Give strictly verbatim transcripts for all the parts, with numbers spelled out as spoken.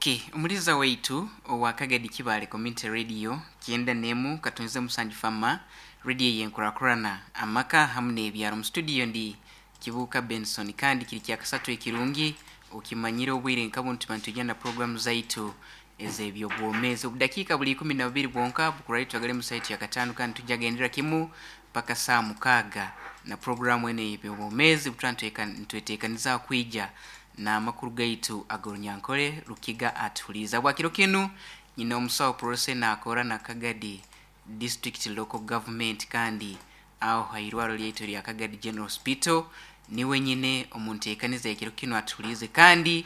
Okay, omuliza waitu owa Kagadi Kibaale Community Radio kyenda nemu katonze musanju fama radio yenkurakurana amaka hamu n'ebyaro. Mu studio ndi Kibuuka Benson, kandi kiri kyakasatu ekirungi okimanyire obwire nka buntu tuba na programu zaitu ez'ebyobwomeezi. Obudakiika buli ikumi na bubiri bwonka bukurali twagale mu saitu ya kataano, kandi tujagendera kimu paka saa mukaaga na programu eno ey'ebyobwomeezi. Butuba nitweteekaniza kwija n'amakuru gaitu ag'orunyankore Rukiga atuhuliiza. Bwakiro kinu nyina omusawo Prose naakora na Kagadi District Local Government, kandi aho hairwaro lyaitu lya Kagadi General Hospital niwe nyine omunteekaniza ekiro kinu atuhuliize, kandi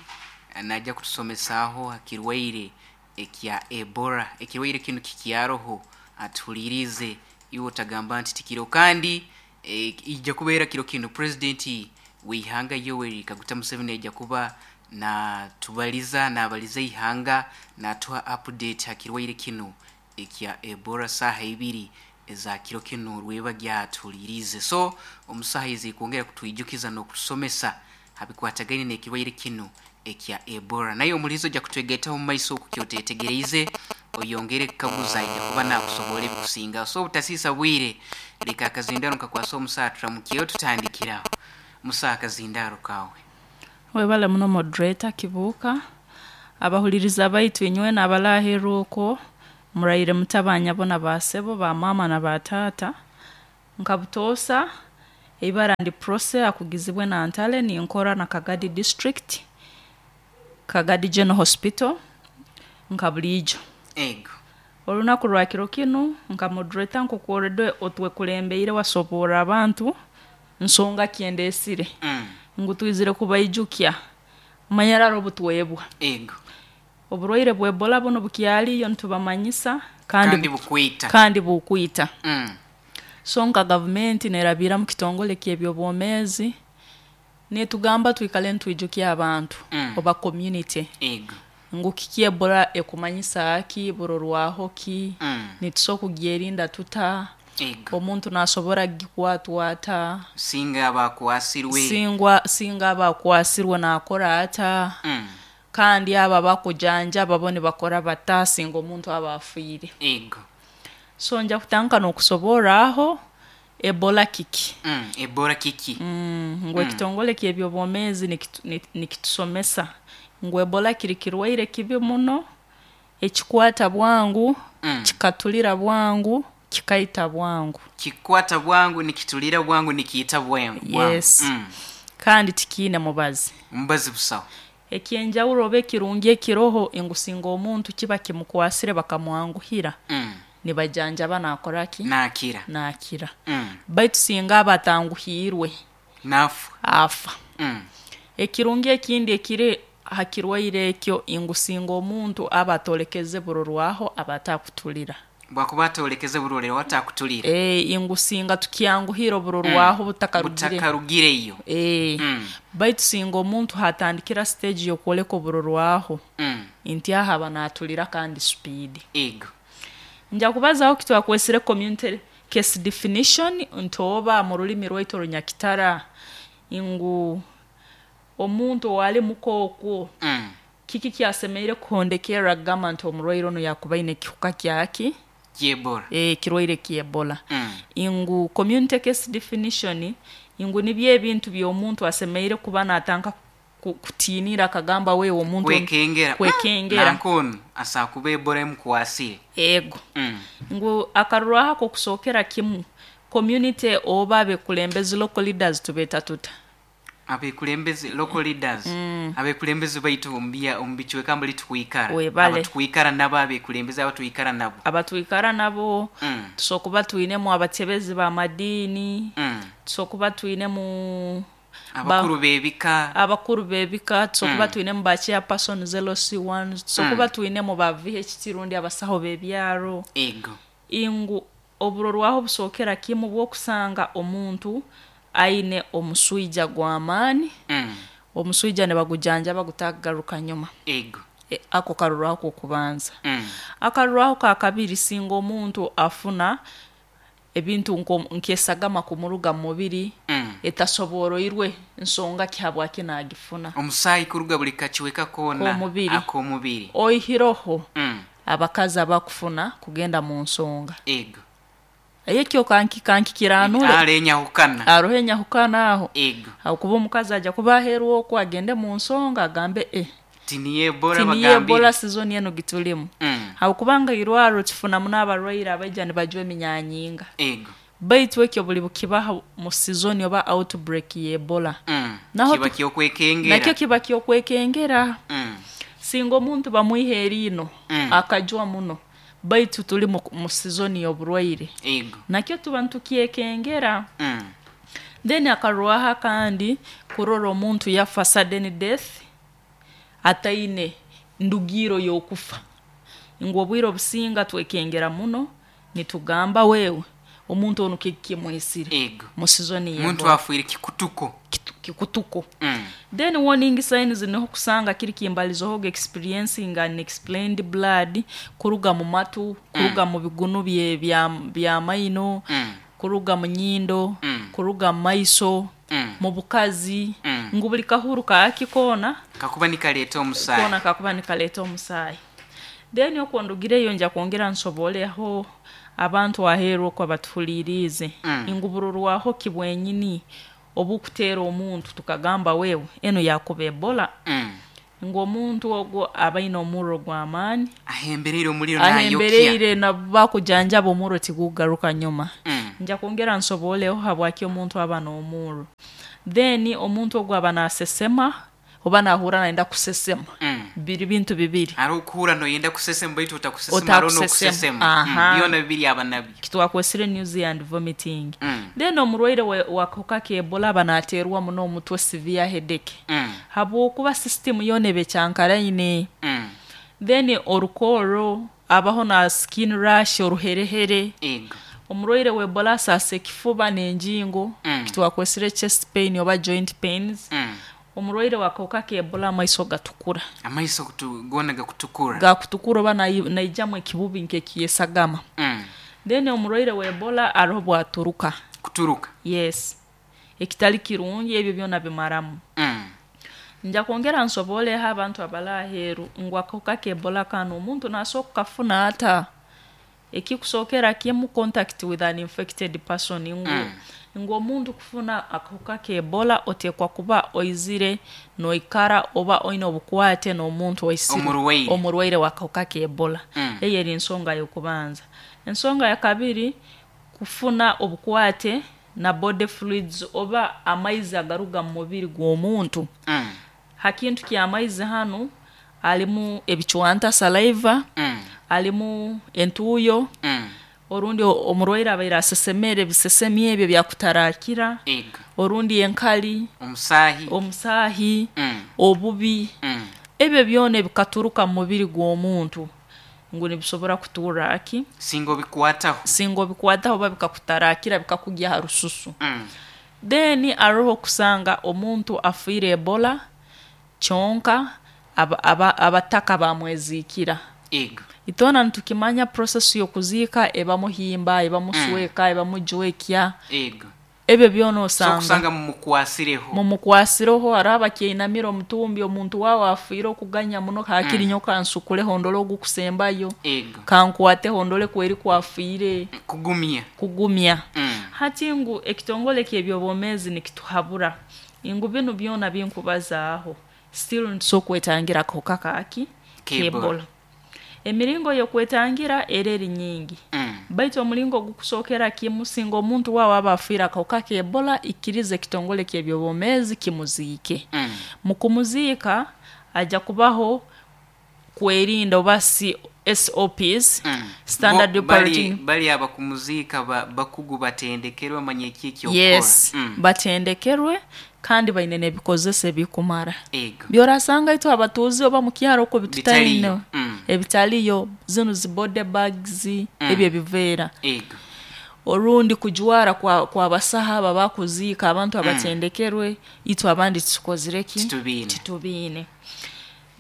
najja kutusomesaaho hakirwaire ekya Ebola. Ekirwaire kinu kikyaroho, atuhulirize iwe otagamba nti tikiro, kandi e, ijja kubeera kiro kinu president w'ihanga Yoweri Kaguta Museveni ajja kuba natubaliza nabaliza ihanga natuha update hakirwaire kinu ekya Ebola saaha ibiri eza kiro kinu rweba gyatuhulirize. So omusaha izi kwongera kutwijukiza n'okutusomesa habikwatagaine n'ekirwaire kinu ekya Ebola. Naye omulizo ojja kutwegaitaho mu maiso okukyotetegereize oyongere kukaguza, ijja kuba nakusobola ebikusinga. So obutasiisa bwire, leka akazindaro nkakwasa omusaha turamukyeyo tutandikiraho. Musaha, akazindaro kawe. Webale muno, moderator Kibuuka. Abahuliriza baitu inywe n'abalaaherwa okwo, muraire mutabanya bona basebo bamama na batata. Nka butoosa, eibara ndi Prose akugizibwe na Ntale, ninkora na Kagadi District, Kagadi General Hospital nka buliijo. Ego. Olunaku rwa kiro kinu, nka moderator nk'oku otwekulembeire wasoborra abantu nsonga kyendesire mm. ngu twizire kubaijukya manyarara obutwebwa Ego. oburwaire bwa Ebola buno bukyaliyo, nitubamanyisa kandi, kandi bukwita. Kandi bukwita. mm. So nka gavumenti nerabira mu kitongole ky'ebyobwomeezi netugamba twikale nitwijukya abantu Mm. oba community Ego. ngu kiki Ebola ekumanyisa ki, burorwaho ki, mm. nitusobola kugyerinda tuta, Ego. omuntu nasobora kugikwatwa ata, singa abakwasirwe, singwa singa aba akwasirwe nakora ata, mm. kandi abo abakujanjaba bo nibakora bata singa omuntu aba afiire. Ego. So nja kutandika n'okusoborra aho Ebola kiki. mm. Ebola kiki? mm, ngu ekitongole ky'ebyobwomeezi nikitu- ni- nikitusomesa ngu Ebola kiri kirwaire kibi muno ekikwata bwangu, Mm. kikatulira bwangu, kikaita bwangu. Kikwata bwangu, nikitulira bwangu, nikiita bwangu. Yes. mm. Kandi tikiine mubazi. Mubazi busaho. Ekyenjawulo oba ekirungi ekiroho ngu singa omuntu kiba kimukwasire bakamwanguhira, mm. nibajanjaba nakora ki, nakira. Nakira. mm. Baitu singa aba atanguhiirwe, nafa. Afa. mm. Ekirungi ekindi ekiri ha kirwaire ekyo ngu singa omuntu aba atolekeze burorwaho, aba atakutulira. Bwakuba atolekeze burorero watakutulira. E, ngu singa tukyanguhira oburorwaho butakarugire. Butakarugireyo. E, mm. baitu singa omuntu hatandikira stage yokwoleka oburorwaho, mm. nti aha aba natulira kandi speed. Ego. Nja kubazaho kitwakwesire community case definition, nti oba mu rulimi rwaitu orunyakitara ngu omuntu owali mukookwo, mm. kiki kyasemeire kuhondekerra kugamba nti omurwaire onu yakuba aine ekihuka kyaki? Kyebola. E, kirwaire kyebola. mm. Ngu community case definition ngu nibyo ebintu by'omuntu asemeire kuba natandika ku- kutiinira akagamba wewe omuntu kwekengera. Kwekengera. Nankonu asakuba Ebola emukwasire. Ego. mm. Ngu akarurwaho akokusookera kimu, community oba abekulembezi, local leaders tubeeta tuta? Abekulembezi, local leaders, mm. abekulembezi baitu omu omu bicweka mbuli tukwikara. Webale. Abatwikara nabo, abekulembezi abatwikara nabo. Abatwikara nabo. mm. Tusobola kuba twinemu abatebezi b'amadiini, mm. tusobola kuba twinemu abakuru b'ebika. Abakuru b'ebika, tusobola kuba Mm. twinemu ba chairpersons, L C ones, tusobola kuba twinemu ba V H T rundi abasaho b'ebyaro. Ego. Ingu oburorwaho busookera kimu bw'okusanga omuntu aine omuswija gw'amaani. mm. Omuswija nibagujanjaba gutagaruka nyuma. Ego. E, ako karurwaho kokubanza. mm. Akarurwaho ka kabiri, singa omuntu afuna Ebintu nk'esagama kumuruga mu mubiri Mm. etasoboroirwe nsonga ki habwaki nagifuna. Omusaayi kuruga buli kakiweka koona K'omubiri. Ak'omubiri. Oihiroho Mm. abakazi abakufuna kugenda mu nsonga. Ego. Ekyo kanki kankikiranure. Haro enyahukana. Aroho enyahukana aho. Ego. Habwokuba omukazi aja kuba aheeru okwo agende mu nsonga agambe eh Tiniyo Ebola. Tiniyo Bagambire. Ebola sizoni eno gitulimu. Mm. Habwokubanga irwaro tufunamu n'abarwaire abaija nibajwa eminyanyinga. Ego. Baitu ekyo buli bukibaha mu sizoni oba outbreak ya Ebola. Mm. Naho kiba tu- kyokwekengera. Nakyo kiba kyokwekengera. Mm. Singa omuntu bamwiha eriino Mm. akajwa muno, baitu tuli mu, mu sizoni y'oburwaire. Ego. Nakyo tuba nitukyekengera. Mm. Then akarwaha kandi kurora omuntu yafa sudden death ataine ndugiro y'okufa. Ngu obwire obusinga twekengera muno nitugamba wewe omuntu onu kikimwisire Ego. mu sizoni Omuntu y'Ebola. afiire kikutuko. Kitu- kikutuko. Mm. Then warning signs niho kusanga kiri kimbalizohoga experiencing unexplained blood kuruga mu matu, kuruga mu bigunu bye bya, bya maino, Mm. kuruga mu nyindo, Mm. kuruga mu maiso, Mm. mu bukazi, Mm. ngu buli kahuru kaaki koona kakuba nikaleeta omusaayi. Koona kakuba nikaleeta omusaayi. Then okwo ndugireyo nja kwongera nsoboleho abantu aheeru okwo abatuhuliiriize. Mm. Ngu bururwaho ki bwenyini obukuteera omuntu tukagamba wewe eno yakuba Ebola. Mm. Ngu omuntu ogwo aba aine omurro gw'amaani. Ahembereire omuliro nayokya. Ahembereire nabakujanjaba omurro tigugaruka nyuma. Mm. Nja kwongera nsoboleho habwaki omuntu aba n'omurro. Then omuntu ogwo aba nasesema oba nahurra nayenda kusesema. Mm. Biri bintu bibiri. Hariho okuhurra noyenda kusesema baitu otakusesema, hariho Otakusesema. n'okusesema. Mm. Aha. Byona bibiri aba nabyo. Kitwakwesire nausea and vomiting. Mm. Then omurwaire wa- w'akahuka ka Ebola aba nateerwa muno omutwe, severe headache, Mm. habwokuba system yoona eba ekyankaraine. Mm. Then orukooro abaho na skin rash, oruherehere. Ego. Omurwaire wa Ebola asaasa ekifuba n'enjingo. Mm. Kitwakwesire chest pain oba joint pains. Mm. Omurwaire w'akahuka ka Ebola amaiso gatukura. Amaiso kutu- goona gakutukura. Gakutukura oba nayi- naijamu ekibubi nk'ekyesagama. Mm. Then omurwaire wa Ebola aroho bwaturuka. Kuturuka. Yes, ekitali kirungi, ebyo byona bimaramu. Mm. Nja kwongera nsoboleho abantu abali aheeru ngu akahuka ka Ebola kano omuntu nasobola kukafuna ata. Ekikusookera kimu, contact with an infected person. Ngu, Mm. ngu omuntu kufuna akahuka ka Ebola oteekwa kuba oizire noikara oba oine obukwate n'omuntu oisire Omurwaire. Omurwaire w'akahuka ka Ebola. Mm. Eyo eri ensonga y'okubanza. Ensonga ya kabiri, kufuna obukwate na body fluids oba amaizi agaruga mu mubiri gw'omuntu. Mm. Ha kintu ky'amaizi hanu alimu ebicwanta, saliva, Mm. alimu entuuyo, Mm. orundi o- omurwaire abaire asesemere ebisesemi ebyo byakutarakira, Ego. orundi enkali, omusaahi. Omusaahi, Mm. obubi. Mm. Ebyo byona ebikaturuka mu mubiri gw'omuntu ngu nibisobora kuturra aki Singa obikwataho. Singa obikwataho oba bikakutarakira bikakugya ha rususu. Mm. Then aroho kusanga omuntu afiire Ebola kyonka aba- aba- abataka bamweziikira. Ego. Itwena nitukimanya process y'okuziika ebamuhimba, ebamusweka, ebamujwekya. Ego. Ebyo byona So osanga kusanga mumukwasireho. Mumukwasireho. Hariho abakyeinamira omutumbi, omuntu waawe afiire okuganya muno, hakiri nyo kansukuleho ndole ogukusembayo, Ego. kankwateho ndole kweri kwafiire. Kugumya. Kugumya. Mm. Hati ngu ekitongole ky'ebyobwomeezi nikituhabura ngu binu byona binkubazaaho still nitusobola okwetangira akahuka kaki K'Ebola. k'Ebola. Emiringo y'okwetangira era eri nyingi, Mm. baitu omulingo ogukusookera kimu, singa omuntu waawe aba afiire akahuka k'Ebola, ikiriza ekitongole ky'ebyobwomeezi kimuziike. Mm. Mu kumuziika ajja kubaho kwerinda oba si S O Ps, Mm. standard Bo- bali, operating. Bali abakumuziika ba, bakugu batendekerwe bamanye eki ekyokukora. Yes. Mm. Batendekerwe kandi baine n'ebikozesa ebikumara. Ego. Byorasanga itwe abatuuzi oba mu kyaro okwo bitutaine. Bitaliyo. Mm. Ebitaliyo zinu zi body bags, Mm. ebyo ebiveera, Ego. orundi kujwara kwa, kwa basaha aba bakuziika, abantu abatendekerwe. Itwe abandi tukozire ki? Titubiine. Titubiine.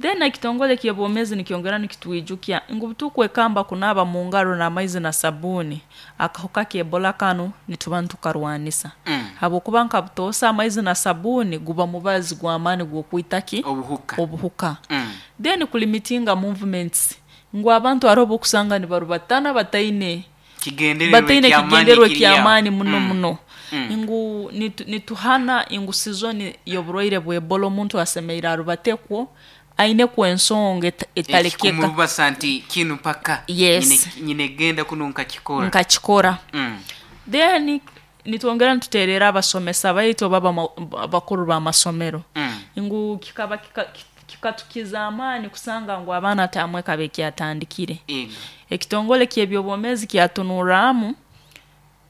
Then ekitongole ky'obwomeezi nikyongera nikitwijukya ngu butukwekamba kunaaba mu ngaro n'amaizi na sabuuni, akahuka k'Ebola kanu nituba nitukarwanisa. Mm. Habwokuba nka butoosa amaizi na sabuuni guba mubazi gw'amaani gw'okwita ki? Obuhuka. Obuhuka. Mm. Then kulimitinga movements, ngu abantu hariho obukusanga nibarubatana bataine kigendererwa bataine eky'amaani kigendererwa ekiri aho. eky'amaani muno Mm. muno. Mm. Ngu nitu, nituhana ngu sizoni y'oburwaire bw'Ebola omuntu asemereire arubatekwo ainekwo ensonga eta- etalekeka. Ekikumubasa nti kinu mpaka Yes. nyine, nyine genda kuno nkakikora. Nkakikora. Mm. Then nitwongera nituterera abasomesa baitu oba abama- abakuru b'amasomero. Mm. Ngu kikaba kika, kikatukiza amaani kusanga ngu abaana tamwe kabe kyatandikire. Ego. Ekitongole ky'ebyobwomeezi kyatunurramu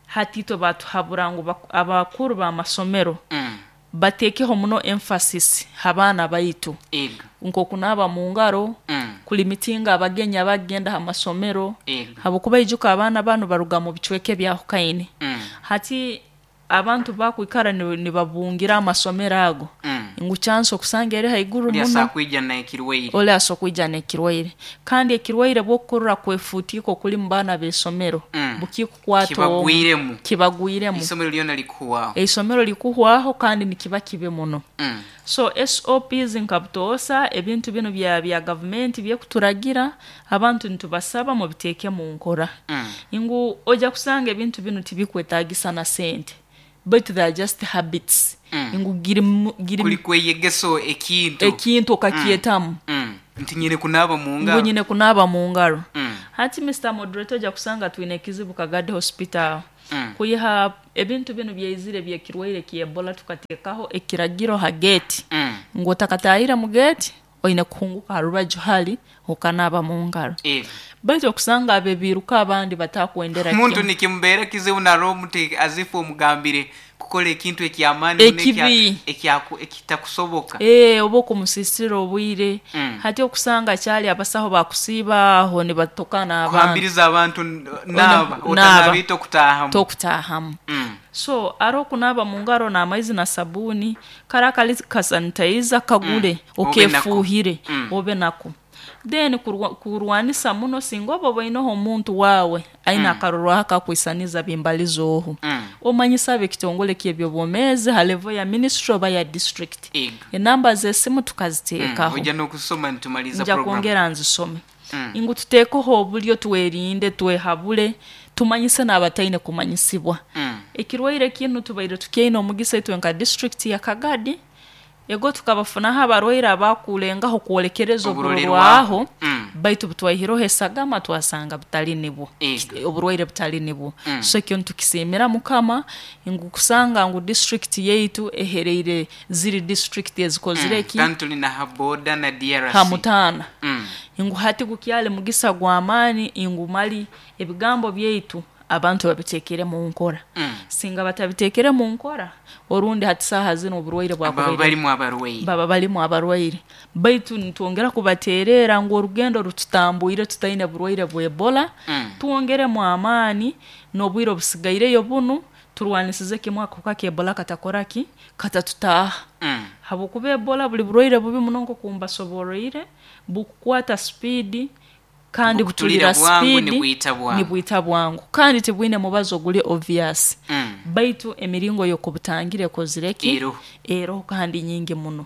hati itwe batuhabura ngu bak- abakuru b'amasomero Mm. bateekeho muno emphasis ha baana baitu. Ego. Nk'okunaaba mu ngaro, Mm. kulimitinga abagenyi abagenda ha masomero. Ego. Habwokuba ijuka abaana banu baruga mu bicweka ebyahukaine. Mm. Hati abantu bakwikara ni- nibabungira amasomero ago. Mm. Ngu chance okusanga eri haiguru Oli muno. asakwija na ekirwaire. Oli asokwija n'ekirwaire. Kandi ekirwaire bw'okukurra kwefuutiiko kuli mu baana b'esomero. Mm. Bukikukwata omu. Kibagwiremu. Kibagwiremu. Isomero lyona likuhwaho. Eisomero likuhwaho kandi nikiba kibi muno. Mm. So S O Ps nka butoosa ebintu binu bya, bya gavumenti byekuturagira abantu nitubasaba mubiteeke mu nkora. Mm. Ngu ojja kusanga ebintu binu tibikwetaagisa na sente. But they are just habits. Mm. Ngu giri mu-, giri Kuli kweyegeso ekintu. Ekintu okakyetamu. Mm. Mm. Nti nyine kunaaba mu ngaro. Ngu nyine kunaaba mu ngaro. Mm. Hati Mister Moderator ojja kusanga twine ekizibu Kagadi Hospital. Mm. Kuyiha ebintu binu byaizire byekirwaire kya Ebola tukateekaho ekiragiro ha gate. Mm. Ngu otakataahire mu gate oine kuhunguka ha rubaju hali okanaaba mu ngaro. Ego. Baitu okusanga abebiruka abandi batakwendera Muntu kimu. nikimubeera kizibu na roho muti azifu omugambire kukola ekintu eky'amaani muno Ekibi. ekya-, ekya-, ekitakusoboka. Eh, oba okumusisira obwire. Mm. Hati okusanga kyali abasaho bakusiiba aho nibatokana abantu. Kuhambiriza abantu n-, naaba, Ona-, otanaabita naaba. okutaahamu. Tokutaahamu. Mm. So aro kunaba mu ngaro n'amaizi na sabuni, kara kali kasanitizer kagule, Mm. Obe nako. okefuhire, Mm. obe nako. Then kurwa-, kurwanisa muno singa oba oboineho omuntu wawe aine Mm. akarorwaho akakwisaniza bimbalizo oho. Mm. Omanyisa ab'ekitongole ky'ebyobwomeezi ha level ya ministry oba ya district. Ego. Enamba z'esimu tukaziteekaho. Mm. Ojja n'okusoma nitumaliza Nja program. kwongera nzisome. Mm. Ngu tuteekeho obulyo twerinde, twehabule, tumanyise n'abataine kumanyisibwa. Mm. Ekirwaire kinu tubaire tukyaine omugisa itwe nka district ya Kagadi. Ego tukabafunaho abarwaire abakulengaho kwolekereza Oburorerwaho. oburorwaho, Mm. baitu butwaihireho esagama twasanga butali nibwo. Ego. Oburwaire butali nibwo. Mm. So ekyo nitukisimira Mukama ngu kusanga ngu district yaitu ehereire ziri district ezikozire Mm. ki? Kandi tuli na ha border na D R C. Ha mutaana. Mm. Ngu hati gukyali mugisa gw'amaani ngu mali ebigambo byaitu abantu babitekere mu nkora. Mm. Singa batabitekere mu nkora orundi hati saaha zino oburwaire bwakubaire. Baba balimu abarwaire. Baba balimu abarwaire. Baitu nitwongera kubaterera ngu orugendo rututambwire tutaine burwaire bwa Ebola. Mm. Twongeremu amaani n'obwire obusigaireyo bunu turwanisize kimwe akahuka ka Ebola katakora ki? Katatutaaha. Mm. Habwokuba Ebola buli burwaire bubi muno nk'okumbasoboroire, bukukwata speed kandi Bukutulira butulira bwangu, speed, nibwita bwangu. nibwita bwangu. Kandi tibwine mubazo oguli obvious. Mm. Baitu emiringo y'okubutangire ekozire ki? Eroho. Eroho kandi nyingi muno.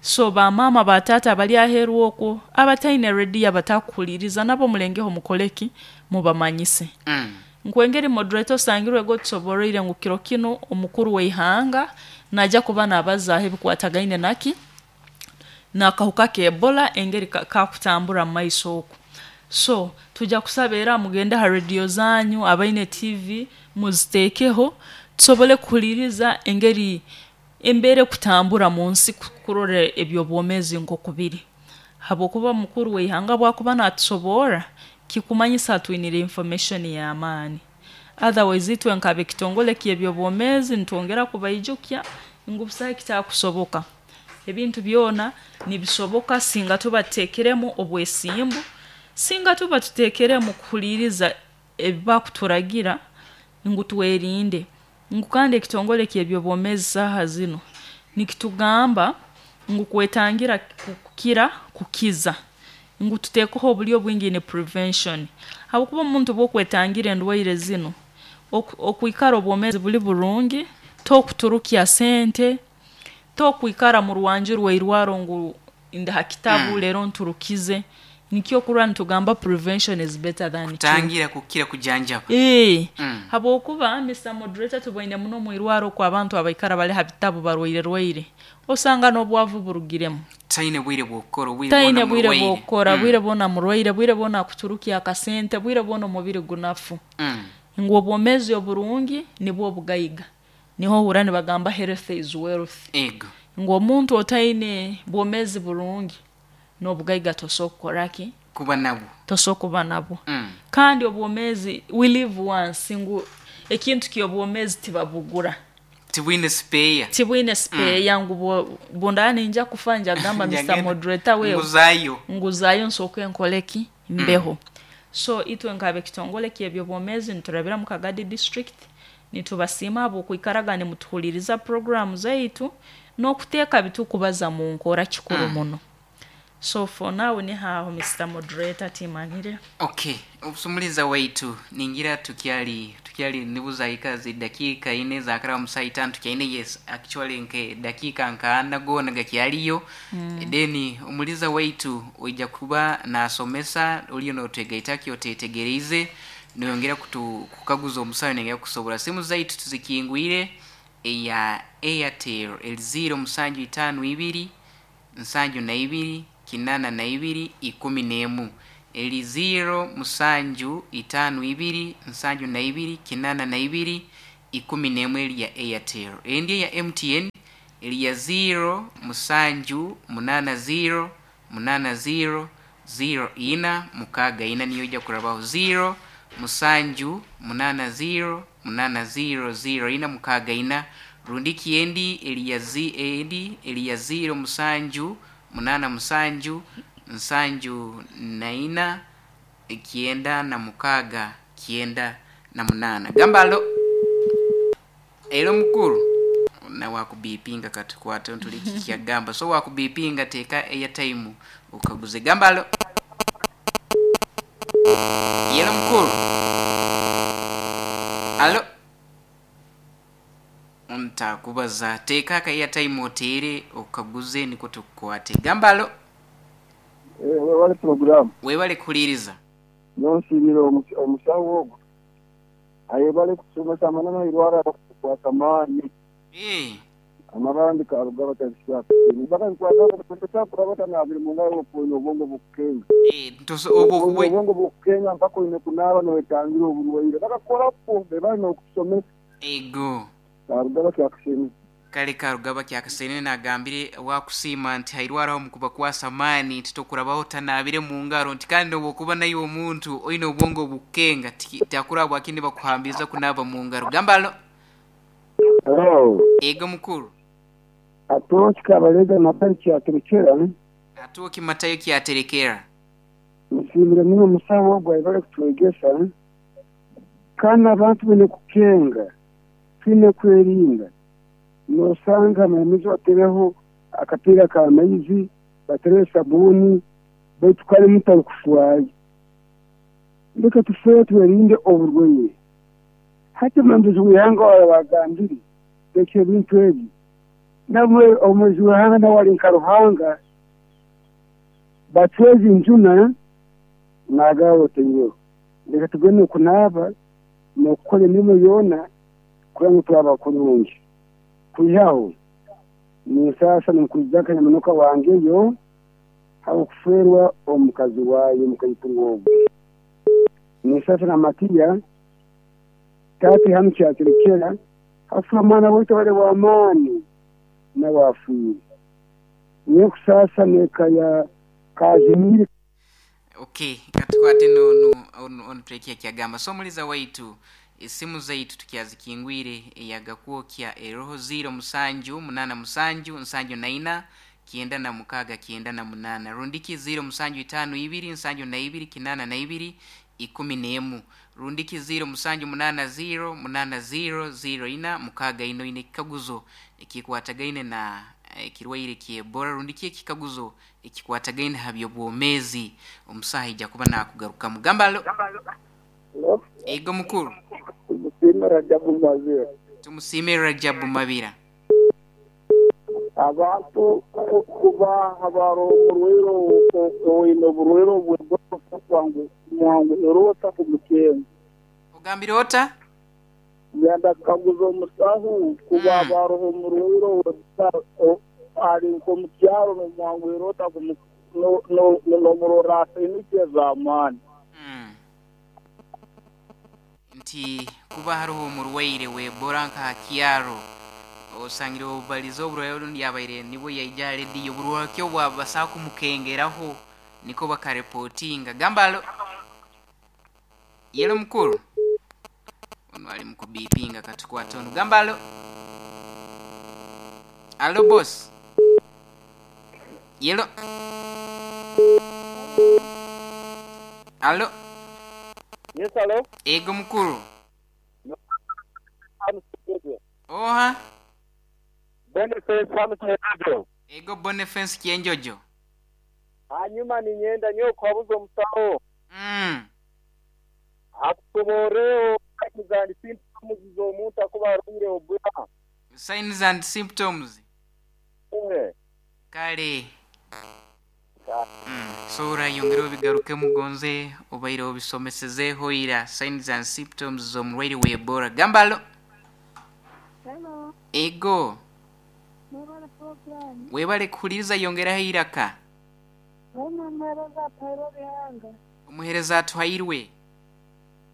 So ba mama ba tata bali aheru okwo abataine ready abatakuhuliriza nabo mulengeho mukoleki mubamanyise. Mm. Nkwengeri moderator osangirwe go tusoboroire ngu kiro kino omukuru w'eihanga najja kuba nabazaho ebikwatagaine naki n'akahuka ka Ebola engeri ka-, kakutambura mu maiso okwo. So tujja kusaba era mugende ha radio zanyu abaine T V muziteekeho tusobole kuhuliriza engeri embeera kutambura mu nsi kurora ebyobwomeezi nk'okubiri. Habwokuba mukuru w'eihanga bwakuba natusobora kikumanyisa atwinire information y'amaani. Otherwise itwe nkabe kitongole ky'ebyobwomeezi nitwongera kubaijukya ngu busaho kitakusoboka. Ebintu byona nibisoboka singa tubateekeremu obwesimbu, singa tuba tuteekeremu kuhuliriza ebibakuturagira ngu twerinde. Ngu kandi ekitongole ky'ebyobwomeezi saaha zino nikitugamba Ngu kwetangira kukira kukiza. Ngu tuteekeho obulyo bwingi ni prevention. Habwokuba omuntu bw'okwetangira endwaire zinu, okwikara obwomeezi buli burungi, tokuturukya sente, tokwikara mu rwanju rw'eirwaro ngu ndi ha kitabu mm. Leero nturukize. Nikyo kurwa nitugamba prevention is better than cure. Kutangira kukira kujanjaba. Ee, mm. Habwokuba Mister Moderator tuboine muno mu irwaro kwa abantu abaikara bali ha bitabu barwaire rwaire. Osanga n'obwavu burugiremu. Taine bwire bw'okukora, bwire taine bwire bw'okukora, mm. Bwire bwona murwaire, bwire bwona kuturukia akasente, bwire bwona omubiri gunafu. Mm. Ngu obwomeezi oburungi nibwo obugaiga. Niho hura nibagamba health is wealth. Ego. Ngu omuntu otaine bwomeezi burungi n'obugaiga tosobola kukoraki? Kuba nabwo. Tosobola kuba nabwo. Mm. Kandi obwomeezi we live once, ngu ekintu ky'obwomeezi tibabugura. Tibwine spare. Tibwine spare, mm. Ngu bundani ninja kufa njagamba Mister Moderator wewe nguzayo. Nguzayo nsooke nkoleki mbeho. Mm. So itwe nkabe kitongole ky'ebyobwomeezi niturabira mu Kagadi district nitubasiima habw'okwikaraga nimutuhuliriza program zaitu n'okuteeka bitukubaza mu nkora kikuru mm. muno. So for now ni haho Mister Moderator timanyire. Okay, obusumuliza waitu ningira tukyali tukyali nibuza ikazi dakika ine za kara musayi tano tukyaine, yes actually nke dakika nkaana gona gakyaliyo. Mm. Deni umuliza waitu oija kuba nasomesa uliyo notegaitaki otetegereze niyongera kutu kukaguza omusayo nengera kusobora simu zaitu tuzikingwire eya Airtel el zero musanju itano ibiri nsanju na ibiri kinana na ibiri ikumi n'emu, eli zero musanju itano ibiri nsanju na ibiri kinana na ibiri ikumi n'emu eli ya Airtel. Endi ya M T N eli ya zero musanju munana zero munana zero zero ina mukaga ina niyo ija kurabaho zero musanju munana zero munana zero zero ina mukaga ina. Rundiki endi eli ya zi endi eli ya zero musanju munana musanju nsanju na ina kienda na mukaga kienda na munana. Gambalo ero mukuru na wakubipinga katukwate ntuliki kyagamba so wakubipinga teka airtime ukaguze. Gambalo yero mukuru alo ntakubaza teka ka airtime otere ukaguze niko tukwate. Gambalo eh wale program webale kuliriza nonsirira omusawo ogwo ayebale kusomesa amanama irwara kwa samani eh amabandi karuga batashyaka baka nkwata kwata kurabata na biri mungayo oponyo obwongo bukenga eh ntoso obwo obwongo bukenga mpaka ine kunaba nowetangira oburwaire bakakora pombe bali nokusomesa ego karugaba kyakusini kale karugaba kyakasene nagambire wakusima nti hairwaraho mukuba kwa samani titokurabaho tanabire mu ngaro nti kandi obokuba nayo omuntu oine obwongo bukenga takurabwa akindi bakuhambiza kunaba mu ngaro. Gambalo hello ego mukuru atoki kabalega matari kyaterekera atoki matayo kyaterekera musimire muno musawo gwa kutwegesa kana abantu bene kukenga twine kwerinda nosanga mamizo atereho akapira ka maizi batere sabuni baitu kale mutari kufuaye ndeka tufuye twerinde oburwaire hati mambizi wihanga wabagambiri ekyo bintu ebi namwe omwezi wihanga nawali nka Ruhanga batwezi njuna nagawo tenyo ndeka tugende kunaba nokukora emirimo yona kugira ngu twaba kurungi kuyaho ni sasa nimukuzaka nyamunuka wange yo hakuferwa omukazi wayo mukayituruwo ni sasa na Matiya tati hamcyaterekera hafa mwana wote wale wa amani na wafuye ni kusasa neka ya Kazimiri. Okay, katukwate no no on break ya kyagamba so muliza waitu esimu zaitu tukyazikingwire eyagakwokya eroho zero musanju munana musanju nsanju na ina kienda na mukaga kienda na munana rundiki zero musanju itano ibiri nsanju na ibiri kinana na ibiri ikumi n'emu rundiki zero musanju munana zero munana zero zero ina mukaga ino ine kikaguzo ekikwatagaine na Ekirwaire ky'Ebola rundi ki ekikaguzo ekikwatagaine ha by'obwomeezi, omusaha ijja kuba nakugarukamu. Gamba alo. Ego mukuru. Tumusiime Rajabu Mabira. Tumusiime Rajabu Mabira. Abantu kuba habaro omurwaire oine oburwaire obw'Ebola mwanguhira ota kumukenga? Ogambire ota? Ngenda kukaguza omusaho kuba habaroho omurwaire ali nk'omukyaro n'omwanguhira ota n'omurora asainiki ez'amaani? Nti kuba haroho omurwaire w'Ebola nka ha kyaro, osangire obubaliza oburwaire orundi yabaire nibwo yaija rediyo, oburwaire obwabasaho kumukengeraho niko bakarepotinga. Gamba alo. Yelo mukuru. Ono ali mukubipinga katukwata ono. Gamba alo. Alo boss. Yelo. Alo. Yes, alo. Ego mukuru. Oha. Boniface Kyenjojo. Ego Boniface Kyenjojo. Hanyuma ninyenda nyo kwabuza omusaho. Mm. Akusoboreo signs and symptoms z'omuntu akuba arwaire Ebola. Signs and symptoms. Eh. Kale. Mm. So urayongera obigaruke mugonze obaire obisomesezeho ira signs and symptoms z'omurwaire w'Ebola. Gamba alo. Hello. Ego. Mwebale program. Webale kuhuliriza, yongeraho iraka. Omuheereza atuhairwe Bihanga. Omuheereza atuhairwe.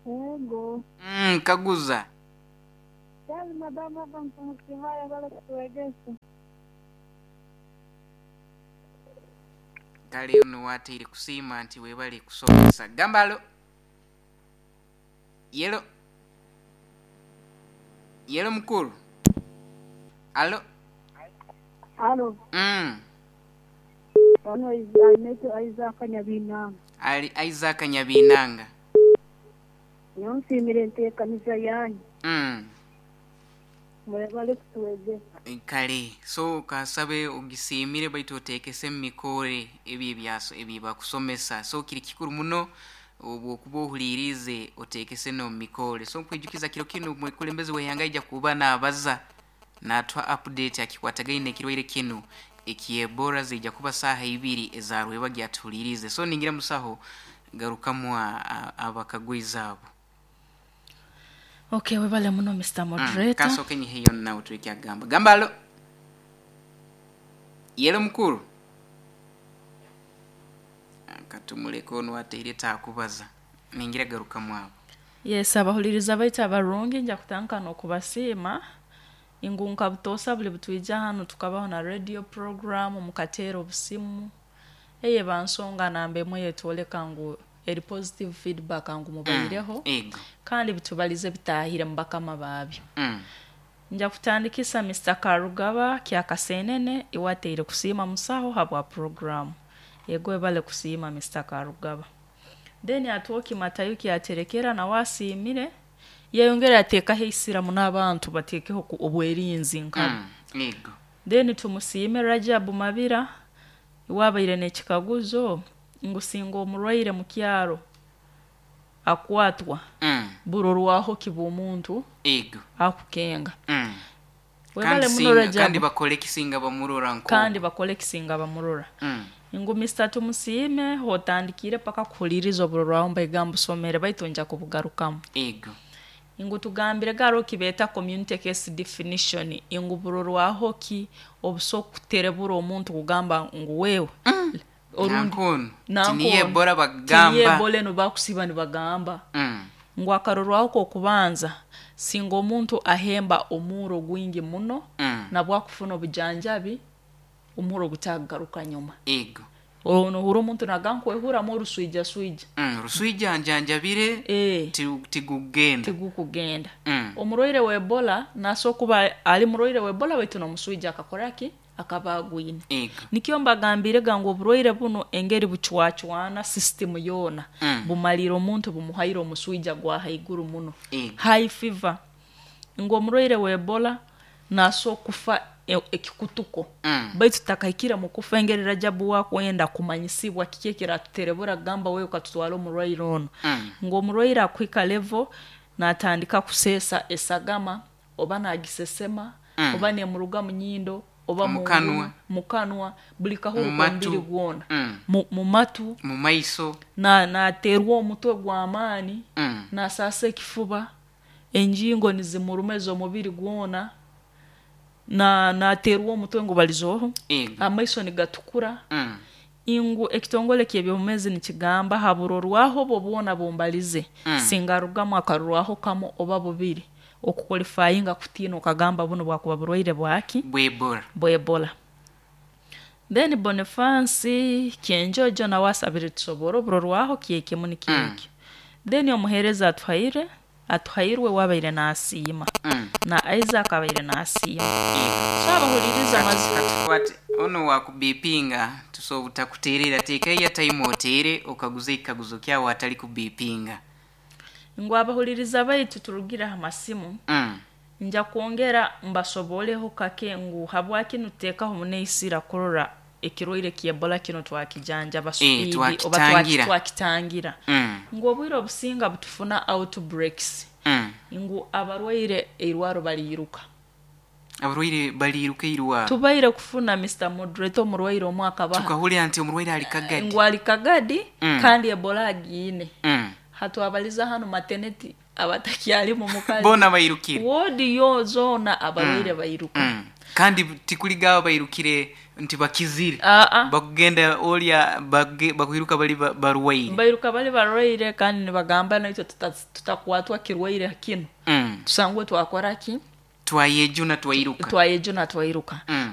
Ego. Mm, kaguza. Kazi madamu hapa mtumusimaya bale kutuwegesa. Kale ono wateire kusiima nti webale kusomesa. Gamba alo. Yelo. Yelo mukuru. Alo. Alo. Mm. Ono ainaitwe Isaac Nyabinanga. Ali Isaac Nyabinanga. Nyansimire enteekaniza yanyu. Mm. Mwebale kutuwegesa. Kale so kasabe ogisimire baitu oteekese mumikore ebyo ebyaso ebibakusomesa. So kiri kikuru muno obwokuba ohulirize oteekese n'omumikore. So nkwijukiza kiro kinu omwekulembeze w'eihanga aija kuba naabaza natwa update akikwatagaine ekirwaire kinu eky'Ebola zijja kuba saaha ibiri ezarweba gyatuhulirize. So ningira musaho garukamu abakagwiza abo. Okay, webale muno Mister Moderator. Mm, kasoke nyiheyo nawe twekyagamba. Gamba alo. Yelo mukuru. Katumuleko ono ateire takubaza. Ningira garukamu abo. Yes, abahuliriza baitu abarungi nja kutanka n'okubasiima. Ingunka butosa buli butwija hano tukabaho na radio program mukateera obusimu. Eye bansonga namba emwe yetwoleka ngu eri positive feedback ngu mubaireho. Mm, kandi bitubalize bitahire mu bakama babyo. Mm. Nja kutandikisa Mister Karugaba kyakasenene iwateire kusiima musaho habwa program. Yego ebale kusiima Mister Karugaba. Then atuoki Matayuki aterekera na wasiimire yeyongera ateekaho eisiramu n'abantu bateekeho obwerinzi nkabo. Mm, yego. Then tumusiime Rajabu Mabira iwabaire n'ekikaguzo ngu singa omurwaire mu kyaro akwatwa mm. burorwaho kiba omuntu ego akukenga. Mm. Webale Kandi muno singa, Rajabu. kandi bakole kisinga bamurora nko. Kandi bakole kisinga bamurora. Mm. Ngu Mister Tumusiime hotandikire paka kuhuliriza oburorwaho mbaiga mbusomere baitu nja kubugarukamu. Ego. Ingu tugambire garo kibeta community case definition ingu burorwaho ki obuso kuterebura omuntu kugamba ngu wewe mm. orundi tiniye Ebola bagamba tiniye Ebola no bakusiba nibagamba mm. ngu akarorwaho ko kubanza singa omuntu ahemba omuro gwingi muno mm. nabwo akufuna obujanjabi omuro gutagaruka nyuma. Ego. Ono huro omuntu nagankwehura mu ruswija swija. Mm, ruswija njanjabire e, tigugenda. Tigukugenda. Mm. Omurwaire wa Ebola naso kuba ali murwaire wa Ebola baitu nomuswija akakora ki akaba agwine. Ego. Nikyo mbagambire gangu oburwaire buno engeri buchwachwana system yona. Mm. Bumalira omuntu bumuhaira omuswija gwa haiguru muno. Ego. High fever. Ngo omurwaire wa Ebola naso kufa e- ekikutuko Mm. baitu tutakahikire mu kufa engeri Rajabu wakwenda kumanyisibwa kiki ekiratuterebura kugamba wewe ukatutwara omurwaire ono. Mm. Ngu omurwaire akuhika level natandika kuseesa esagama oba nagisesema, Mm. oba nemuruga mu nyindo oba Mu mu kanwa. ngulu, mu kanwa, buli kahuru Mu matu. k'omubiri gwona, Mm. mu, mu matu, mu maiso, na naterwa omutwe gw'amaani, Mm. nasaasa ekifuba, enjingo nizimuruma ez'omubiri gwona, na naterwa omutwe ngu balizoho, Ego. amaiso nigatukura. Mm. Ingu ekitongole ky'ebyobumezi nikigamba haburorwaho obwo bwona bumbalize, Mm. singarugamu akarurwaho kamu oba bubiri okuqualifyinga kutiina okagamba buno bwakuba burwaire bwaki? Bw'Ebola. Bw'Ebola. Then Bonifansi Kyenjojo nawe asabire tusobora oburorwaho kyekemu nikyekyo. Then omuheereza atuhaire atuhairwe wabaire nasiima, Mm. na Isaac abaire nasiima. Ego. So abahuliriza mazi Katukwate ono wakubipinga, tusobola kuterera teeka airtime otere okaguze ekikaguzo kyawe atali kubipinga. Ngu abahuliriza baitu turugire aha masimu, Mm. nja kwongera mbasoboleho kake ngu habwaki nuteekaho muneisira kurora ekirwaire ky'Ebola kino twakijanjaba Eh, speed oba twakitangira. twaki- twakitangira. Mm. Ngu obwire obusinga butufuna outbreaks, Mm. ngu abarwaire eirwaro baliiruka. Abarwaire baliiruka eirwaro. Tubaire kufuna, Mister Moderator, omurwaire omwe akabaha Tukahulira nti omurwaire ali Kagadi. Ngu ali Kagadi, Mm. kandi Ebola agiine. Mm. Hatwabaliza hano maternity abatakyalimu mukazi, Boona bairukire. Wodi yo zoona abarwaire bairuka. Mm. Kandi tikuligaba bairukire nti bakizire, Aa. bakugenda olya bage- bakwiruka bali ba- barwaire. Bairuka bali barwaire kandi nibagamba naitwe tuta- tutakwatwa kirwaire kino, Mm. tusangwe twakora ki? Twayejuna twairuka. Twayejuna twairuka. Mm.